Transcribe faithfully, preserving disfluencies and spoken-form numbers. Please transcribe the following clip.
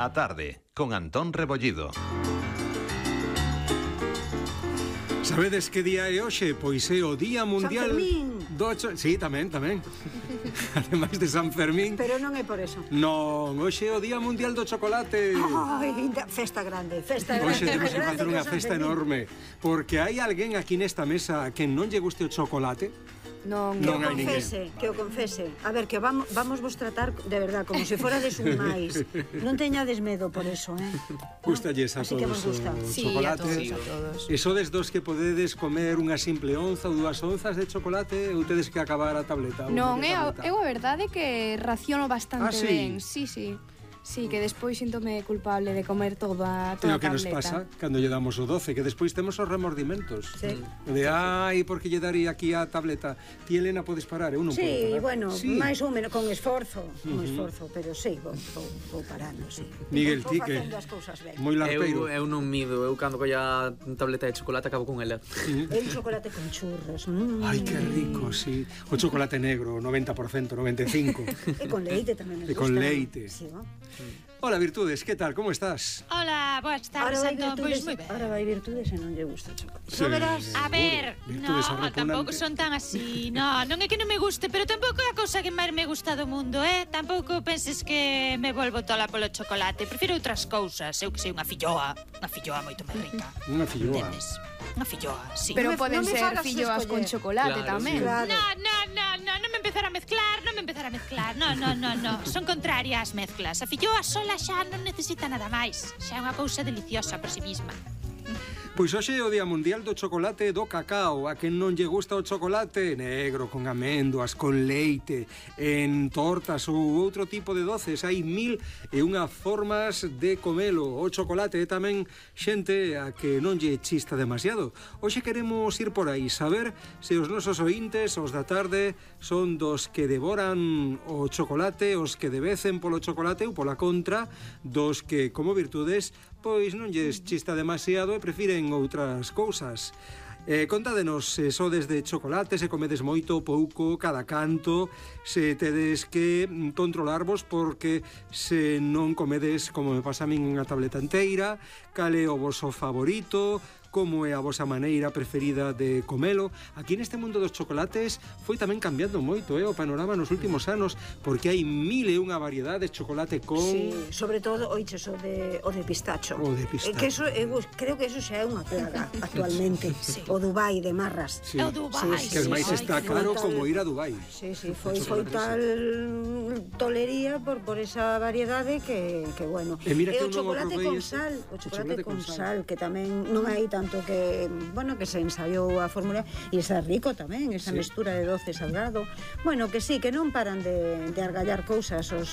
A tarde, con Antón Rebollido. Sabedes que día é hoxe? Pois é o Día Mundial San Fermín. do cho... Sí, tamén, tamén. Ademais de San Fermín. Pero non é por eso. Non, hoxe é o Día Mundial do Chocolate. Ai, festa grande, festa grande. Hoxe temos que grande facer unha que San festa Fermín. enorme. Porque hai alguén aquí nesta mesa que non lle guste o chocolate. Non, Que o Non hai ninguén. confese, que o confese. A ver, que vamos, vamos vos tratar de verdad como se forades un máis. Non teñades medo por eso, eh? Gustalles a Así que todos vos gusta. o Sí, chocolate. a todos, a todos. E sodes dos que podedes comer unha simple onza ou dúas onzas de chocolate ou tedes que acabar a tableta? ou Non, media é a, tableta? eu a verdade que raciono bastante Ah, sí? ben. Sí, sí. Sí, que despois síntome culpable de comer toda, É toda o que a nos tableta. pasa cando lle damos o doce, que despois temos os remordimentos. Sí. De, ai, porque lle daría aquí a tableta. Ti, Elena, podes parar, eu non podo Sí, parar. bueno, Sí. máis ou menos, con esforzo, con esforzo, pero sí, vou, vou, vou parando, sí. Miguel, Vou ti que facendo as cousas ben. moi larpeiro. Eu, eu non mido, eu cando colla tableta de chocolate acabo con ela. É un chocolate con churros. Mm. Ai, que rico, sí. O chocolate negro, noventa por cento, noventa e cinco por cento. E con leite tamén me E gusta. con leite. Sí, ¿no? Hola, Virtudes, que tal? Como estás? Hola, boas Ahora tardes, vai Antón, virtudes, pois moi ben. ahora vai virtudes e non lle gusta o chocolate. Sí, Xa verás. A ver, no, Virtudes arrepugnantes. tampouco son tan así. No, non é que non me guste, pero tampouco é a cousa que máis me gusta do mundo, eh? Tampouco penses que me volvo tola polo chocolate. Prefiro outras cousas. Eu que sei, unha filloa, unha filloa moito máis rica. Unha filloa. Entendes? Unha filloa, sí. Pero Non me- poden non me ser fagas filloas con escoller. chocolate Claro, tamén. sí. Claro. No, no, no, no, non me empezar a mezclar, non me empezar a mezclar. No, no, no, no. Son contrarias as mezclas. A filloa sola xa non necesita nada máis. Xa é unha cousa deliciosa por si mesma. Pois hoxe é o Día Mundial do Chocolate e do Cacao. A quen non lle gusta o chocolate negro, con amendoas, con leite, en tortas ou outro tipo de doces. Hai mil e unha formas de comelo. O chocolate é tamén xente a que non lle chista demasiado. Hoxe queremos ir por aí, saber se os nosos ointes, os da tarde, son dos que devoran o chocolate, os que debecen polo chocolate ou pola contra, dos que, como virtudes, pois non lles chista demasiado e prefiren outras cousas. Eh, contádenos se sodes de chocolate, se comedes moito, pouco, cada canto, se tedes que mm, controlarvos porque se non comedes, como me pasa a min, unha tableta enteira, cal é o voso favorito, como é a vosa maneira preferida de comelo. Aquí neste mundo dos chocolates foi tamén cambiando moito, eh, o panorama nos últimos anos, porque hai mil e unha variedades, chocolate con... Sí, sobre todo, oiches, o de, o de pistacho. O de pistacho. Eh, que eso, eu creo que eso xa é unha plaga actualmente. Sí. O Dubai de marras. Sí. É o Dubai, Sí, Que sí, ademais sí. está Ai, que caro tal. como ir a Dubai. Sí, sí, foi, O foi chocolate tal tolería por, por esa variedade que, que bueno. E mira que o eu non o chocolate probei con ese. sal, o chocolate, chocolate con, con sal. que tamén non hai tanto que, bueno, que se ensaiou a fórmula e está rico tamén, esa Sí. mestura de doce salgado. Bueno, que sí, que non paran de, de argallar cousas os